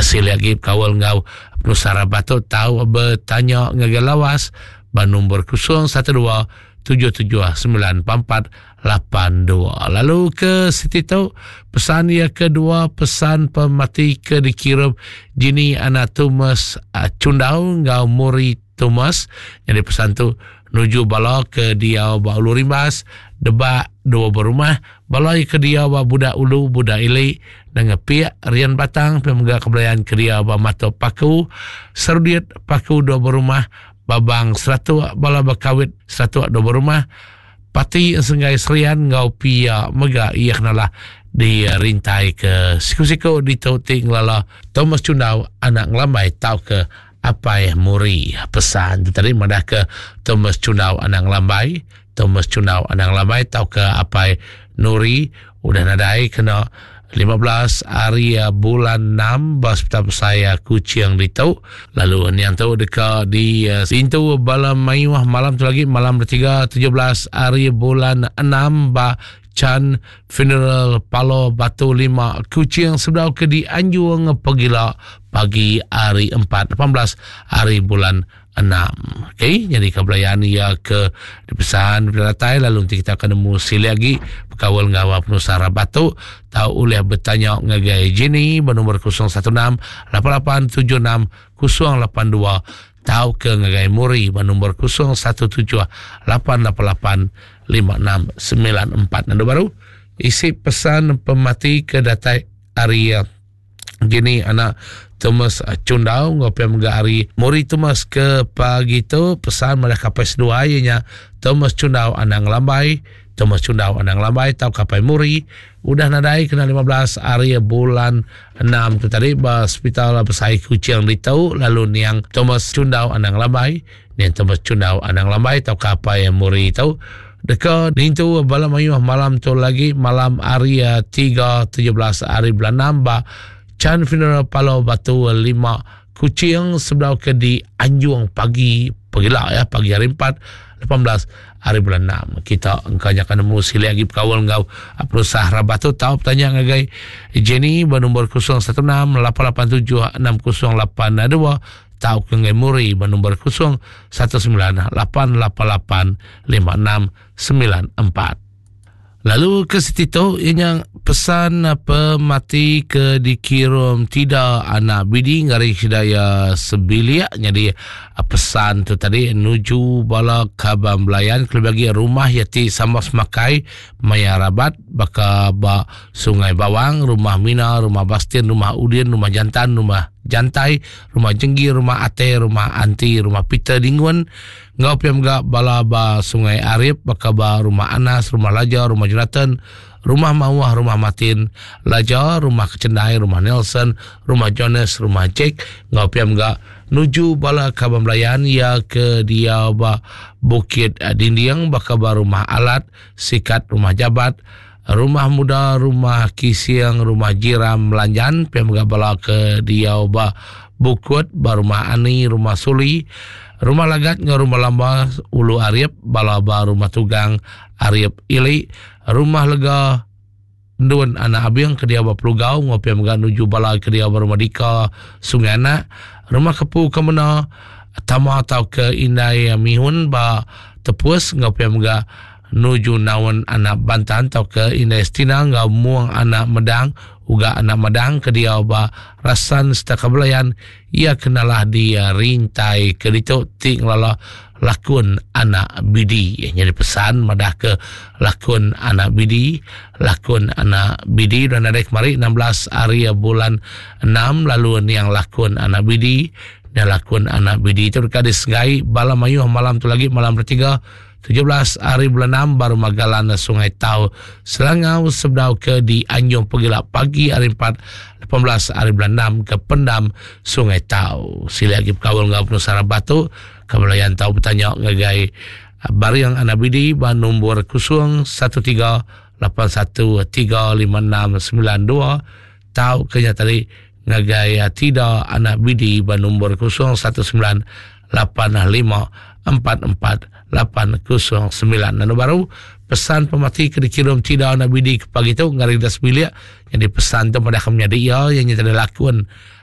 Silik agi bekaul enggau penusah rabat tu tau betanya ngagai Lawas ba nombor 012 77 94 82. Lalu ke siti tu pesan iya kedua, pesan pemati ke dikirum Jini anak Thomas Chundau enggau Muri Thomas. Jadi pesan tu nuju bala ke diau ba Ulu Rimbas, Debak, dua berumah, bala ke diau ba Budak Ulu, Budak Ili, dan Ngepik, Rian Batang, pemega kebelayan ke diau ba Matop Paku, Serudit, Paku dua berumah, Babang Seratuk, bala Bakawit Seratuk dua berumah, Pati Senggai Serian enggau pia mega iya kenalah di rintai ke siku-siku ditu ti ngelala Thomas Chundau anak Ngelambai tauka Apai Muri. Pesan tu tadi madah ke Thomas Chundau anak Ngelambai, Thomas Chundau anak Ngelambai tauka Apai Nuri udah nadai kena 15 hari bulan 6 ba Hospital Besai Kuching ditu. Lalu niang tu deka di intu bala mayuh malam tu lagi, malam ketiga 17 hari bulan 6 ba Chan Funeral Palo Batu 5 Kuching sebedau ke dianjung pegila pagi hari 4 18 hari bulan 6. Okey, jadi kebelayan ia ke dipesan datai, lalu nanti kita akan nemu silik lagi berkawal enggau penusah rabat tu tau ulih bertanya ngagai Jenny bernombor 016 8876 082 tau ke ngagai Muri bernombor 017 888 5694. Nandu baru isi pesan pemati ke datai hari Gini anak Thomas Chundau enggau pia mega ari Muri Thomas ke pagi tu, pesan madah kapai seduai iya nya Thomas Chundau anak Ngelambai, Thomas Chundau anak Ngelambai tau kapai Muri udah nadai kena 15 hari bulan 6 tu tadi ba Hospital Besai Kuching ditu. Lalu niang Thomas Chundau anak Ngelambai, niang Thomas Chundau anak Ngelambai tau kapai Muri tu deka nintu bala mayuh malam tu lagi, malam hari 3 17 hari bulan 6 ba Chan Funeral Palo Batu 5 Kuching sebedau ke di Anjung pagi pagila ya, pagi hari 4 18 hari bulan 6. Kita engkanya akan nemu silik lagi berkawal enggau perusahaan rabat tu tau bertanya ngagai Jenny bernombor 016 887 6082 tau ke ngagai Muri bernombor 019 888 5694. Lalu ke siti tu ianya pesan pemati ke dikirum tidak anak bidi ngari hidaya sebilik. Jadi pesan tu tadi nuju bala kaban belayan kelebih lagi rumah yati sama semakai maya rabat baka ba Sungai Bawang, Rumah Mina, Rumah Bastin, Rumah Udin, Rumah Jantan, Rumah Jantai, Rumah Jenggi, Rumah Ate, Rumah Anti, Rumah Peter Dingun, enggau pia mega bala ba Sungai Arip baka ba Rumah Anas, Rumah Laja, Rumah Jonathan, Rumah Mawah, Rumah Martin Laja, Rumah Kecendai, Rumah Nelson, Rumah Jonas, Rumah Jack, enggau pia mega nuju bala kaban belayan iya ke diau ba Bukit Dinding baka ba Rumah Alat, Sikat, Rumah Jabat, Rumah Muda, Rumah Kising, Rumah Jiram Melanjan, pia mega bala ke diau ba Bukut, ba Rumah Ani, Rumah Suli, Rumah Lagat enggau Rumah Lamba, Ulu Arip, bala ba Rumah Tugang, Arip Ili, Rumah Lega, Endun Anak Abing ke diau ba Pelugau enggau pia mega nuju bala ke diau ba Rumah Dika, Sungai Anak, Rumah Kepu Kemena, Tama tauka Indai Mihun ba Tepus enggau pia mega nuju naun anak Bantan tauka Indai Stina enggau Mung anak Medang uga anak Madang ke diau ba Rasan sereta Kabelayan iya ke nalah di rintai ke ditu ti ngelala lakun anak Bidi. Nyadi pesan madah ke lakun anak Bidi, lakun anak Bidi udah nadai kemari 16 hari bulan 6. Lalu niang lakun anak Bidi dan lakun anak Bidi itu deka disegai bala mayuh malam tu lagi, malam ketiga 17 hari bulan 6 baru Magalan Sungai Tau Selangau sebedau ke di Anjung Pegila pagi hari 4 18 hari bulan 6 ke Pendam Sungai Tau. Sila lagi berkawal enggau penusah batu kebelayan tau bertanya ngagai Bariang Anak Bidi ba nombor 013 81 356 92 tau ke nya tadi ngagai Tida Anak Bidi ba nombor 019 85 44 809. Lalu baru pesan pemati ke dikirim Tida Anak Bidi ke pagi tu ngari das bilik. Jadi pesan tu pada kami menjadi ia yang nyata lakon.